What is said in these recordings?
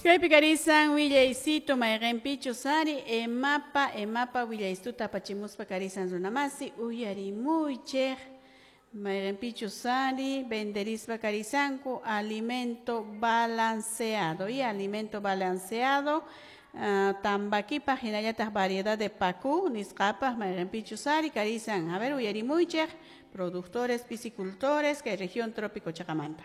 Kaypi karisan willaysitu mayqinpichus ari EMAPA willaystuta apachimuspa karisan runamasi uyarimuychik mayqinpichus ari venderispa karisanku alimento balanceado y alimento balanceado tambakipaq hinallataq variedad de paku nisqapaq mayqinpichus ari karisan. A ver, uyarimuychik productores piscicultores kay región trópico chaqamanta.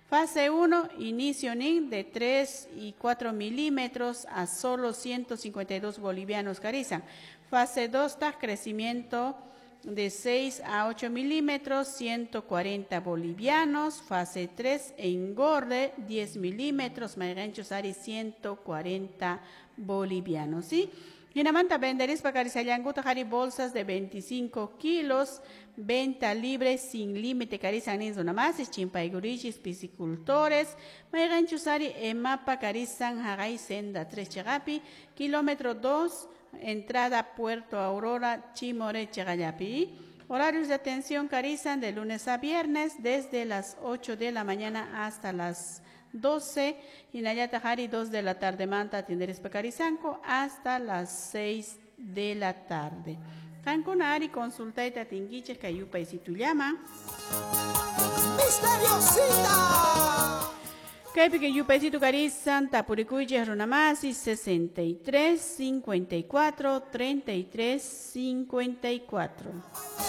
Fase 1, inicio NIN de 3 y 4 milímetros a solo 152 bolivianos carisan. Fase 2, crecimiento de 6 a 8 milímetros, 140 bolivianos. Fase 3, engorde, 10 milímetros, mayqinchus ari 140 bolivianos, ¿sí? Hinamanta venderispa karisallankutaq ari bolsas de 25 kilos, venta libre sin límite karisan nin runamasis, chimpaykurichis piscicultores, mayqinchus ari EMAPA karisan haqay senda 3 chaqapi, kilómetro 2, entrada Puerto Aurora, Chimoré chaqallapi. Horarios de atención karisan de lunes a viernes desde las 8 de la mañana hasta las 12, hinallataq ari 2 de la tarde manta atenderispa karisanku hasta las 6 de la tarde. Qankuna ari consultayta atinkichik kay yupaysitullaman. Misteriosita. Kaypi kay yupaysitu karisan tapurikuychik runamasi 63 54 33 54.